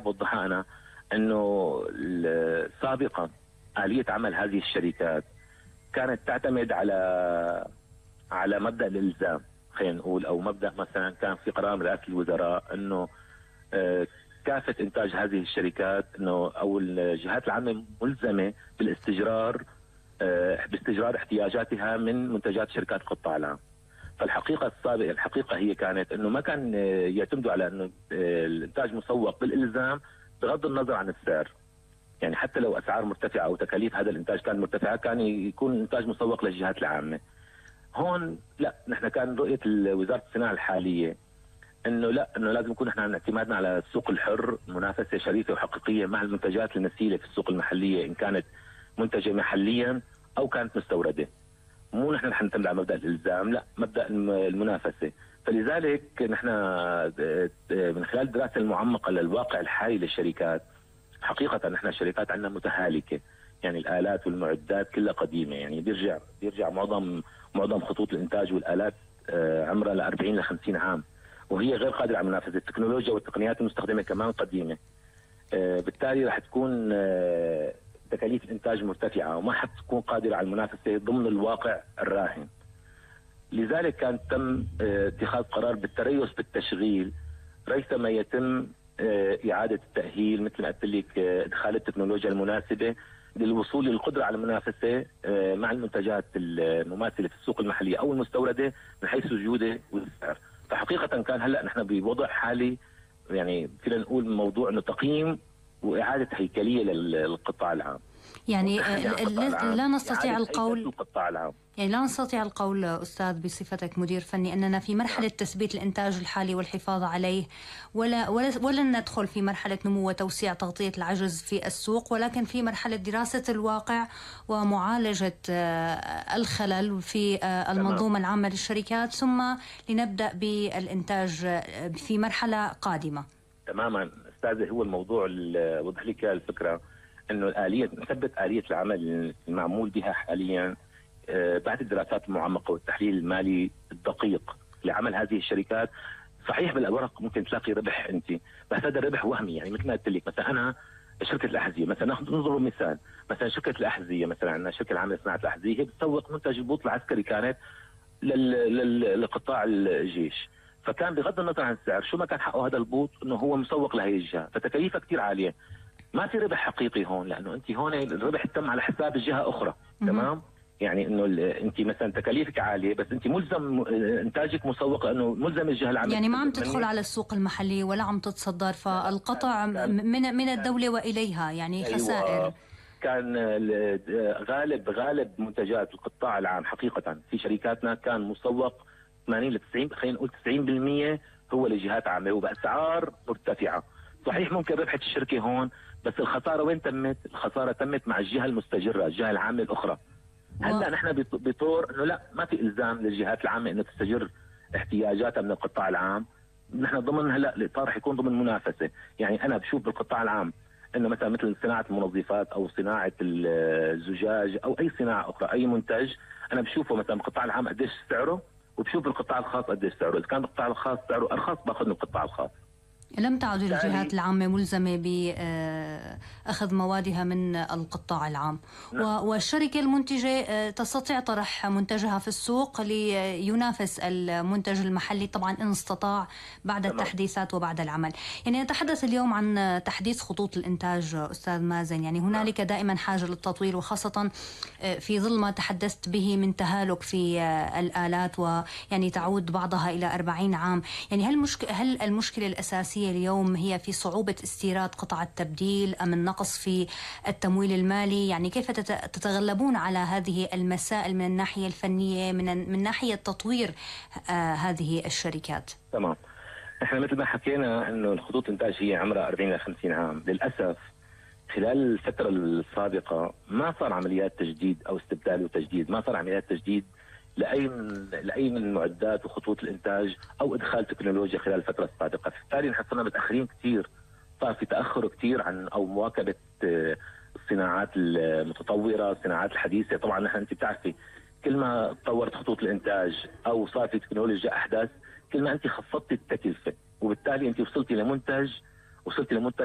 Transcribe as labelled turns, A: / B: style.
A: اوضحها انا، انه سابقا آلية عمل هذه الشركات كانت تعتمد على مبدأ الإلزام، خلينا نقول، او مبدأ مثلا كان في قرار من رئاسة الوزراء انه كافة انتاج هذه الشركات انه او الجهات العامة ملزمة باستجرار احتياجاتها من منتجات شركات القطاع العام. فالحقيقة الحقيقة هي كانت انه ما كان يعتمدوا على انه الانتاج مسوق بالالزام بغض النظر عن السعر. يعني حتى لو اسعار مرتفعة او تكاليف هذا الانتاج كان مرتفعة كان يكون الانتاج مسوق للجهات العامة. هون لا، نحن كان رؤية وزارة الصناعة الحالية انه لا، انه لازم يكون احنا اعتمادنا على السوق الحر، منافسة شريفة وحقيقية مع المنتجات النسيلة في السوق المحلية ان كانت منتجة محليا او كانت مستوردة. مو نحن رح نعتمد على مبدأ الالزام، لا، مبدأ المنافسة. فلذلك نحن من خلال الدراسة المعمقة للواقع الحالي للشركات، حقيقة نحن الشركات عندنا متهالكة، يعني الآلات والمعدات كلها قديمة، يعني بيرجع معظم خطوط الإنتاج والآلات عمرها ل 40 ل 50 عام، وهي غير قادرة على المنافسة. التكنولوجيا والتقنيات المستخدمة كمان قديمة، بالتالي رح تكون تكاليف الإنتاج مرتفعة وما حتكون قادرة على المنافسة ضمن الواقع الراهن. لذلك كان تم اتخاذ قرار بالتريث بالتشغيل ريثما يتم إعادة التأهيل، مثل ما قلت لك، إدخال التكنولوجيا المناسبة للوصول للقدرة على المنافسة مع المنتجات المماثلة في السوق المحلية أو المستوردة من حيث الجودة والسعر. فحقيقة كان هلأ نحن بوضع حالي، يعني فينا نقول موضوع انه تقييم واعاده هيكليه للقطاع العام.
B: يعني لا نستطيع القول
A: القطاع العام.
B: يعني لا نستطيع القول أستاذ بصفتك مدير فني أننا في مرحلة تثبيت الإنتاج الحالي والحفاظ عليه، ولا ندخل في مرحلة نمو وتوسيع تغطية العجز في السوق، ولكن في مرحلة دراسة الواقع ومعالجة الخلل في المنظومة العامة للشركات، ثم لنبدأ بالإنتاج في مرحلة قادمة.
A: تماما أستاذ، هو الموضوع اللي وضح لك الفكرة، انه نثبت آلية العمل المعمول بها حاليا بعد الدراسات المعمقة والتحليل المالي الدقيق لعمل هذه الشركات. صحيح بالورق ممكن تلاقي ربح انت، بس هذا الربح وهمي. يعني مثل ما قلت لك، مثلا انا شركة الأحذية مثلا، ننظر مثال، مثلا شركة الأحذية مثلا، عندنا شركة العامة لصناعة الأحذية، هي بتسوق منتج البوط العسكري كانت لقطاع الجيش، فكان بغض النظر عن السعر شو ما كان حقه هذا البوط انه هو مسوق لهي الجهة، فتكاليفها كثير عالية. ما في ربح حقيقي هون، لانه انت هون الربح تم على حساب الجهه اخرى. تمام، يعني انه انت مثلا تكاليفك عاليه بس انت ملزم انتاجك مسوق لانه ملزم الجهه العامه،
B: يعني ما عم تدخل على السوق المحلي ولا عم تتصدر، فالقطع من الدوله واليها، يعني خسائر.
A: أيوة. كان غالب منتجات القطاع العام حقيقه في شركاتنا كان مسوق 80 ل 90، خلينا نقول 90% هو لجهات عامه وباسعار مرتفعه. صحيح ممكن ربحت الشركه هون، بس الخساره وين تمت؟ الخساره تمت مع الجهه المستجره، الجهه العامه الاخرى. هلا نحن بطور انه لا، ما في الزام للجهات العامه انه تستجر احتياجاتها من القطاع العام. نحن ضمن هلا الاطار حيكون ضمن منافسه. يعني انا بشوف بالقطاع العام انه مثل صناعه المنظفات او صناعه الزجاج او اي صناعه اخرى، اي منتج انا بشوفه مثلا بالقطاع العام قديش سعره، وبشوف بالقطاع الخاص قديش سعره. اذا كان بالقطاع الخاص سعره ارخص باخذ من القطاع الخاص.
B: لم تعد الجهات العامة ملزمة بأخذ موادها من القطاع العام. والشركة المنتجة تستطيع طرح منتجها في السوق لينافس المنتج المحلي، طبعا إن استطاع بعد التحديثات وبعد العمل. يعني نتحدث اليوم عن تحديث خطوط الإنتاج أستاذ مازن، يعني هنالك دائما حاجة للتطوير، وخاصة في ظل ما تحدثت به من تهالك في الآلات، ويعني تعود بعضها إلى 40 عام. يعني هل المشكلة الأساسية اليوم هي في صعوبة استيراد قطع التبديل أم النقص في التمويل المالي؟ يعني كيف تتغلبون على هذه المسائل من الناحية الفنية، من ناحية تطوير هذه الشركات؟
A: تمام، احنا مثل ما حكينا انه الخطوط الانتاج هي عمرها 40 ل 50 عام. للاسف خلال الفترة السابقة ما صار عمليات تجديد او استبدال وتجديد، ما صار عمليات تجديد لأي من المعدات وخطوط الإنتاج أو إدخال تكنولوجيا خلال الفترة السابقة. بالتالي نحن صرنا متأخرين كثير، صار في تأخر كثير عن أو مواكبة الصناعات المتطورة، الصناعات الحديثة. طبعا نحن أنت بتعرفي كل ما تطورت خطوط الإنتاج أو صار في تكنولوجيا أحدث، كل ما أنت خفضتي التكلفة، وبالتالي أنت وصلتي لمنتج